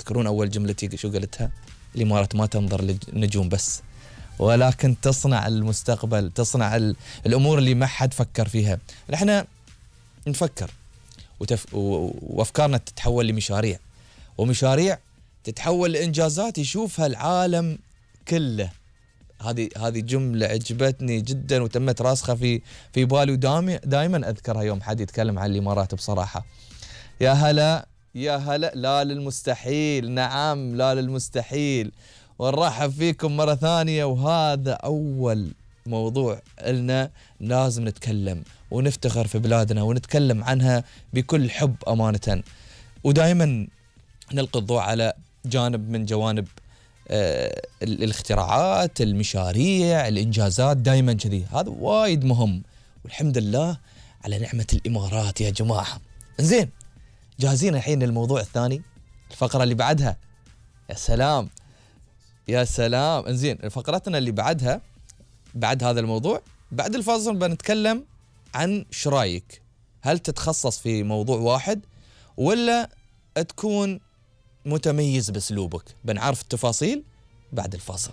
تذكرون أول جملتي شو قلتها؟ الإمارات ما تنظر للنجوم بس، ولكن تصنع المستقبل، تصنع الأمور اللي ما حد فكر فيها. نحن نفكر وأفكارنا تتحول لمشاريع، ومشاريع تتحول لإنجازات يشوفها العالم كله. هذه جملة عجبتني جدا وتمت راسخة في بالي، دائما أذكرها يوم حد يتكلم عن الإمارات. بصراحة يا هلا يا هلا، لا للمستحيل، نعم لا للمستحيل، ونرحب فيكم مرة ثانية. وهذا أول موضوع لنا لازم نتكلم ونفتخر في بلادنا ونتكلم عنها بكل حب أمانة، ودائما نلقي الضوء على جانب من جوانب الاختراعات، المشاريع، الإنجازات، دائما كذي. هذا وايد مهم، والحمد لله على نعمة الإمارات يا جماعة. زين، جاهزين الحين للموضوع الثاني، الفقرة اللي بعدها؟ يا سلام يا سلام. انزين، فقرتنا اللي بعدها بعد هذا الموضوع بعد الفاصل بنتكلم عن شرايك، هل تتخصص في موضوع واحد ولا تكون متميز باسلوبك؟ بنعرف التفاصيل بعد الفاصل.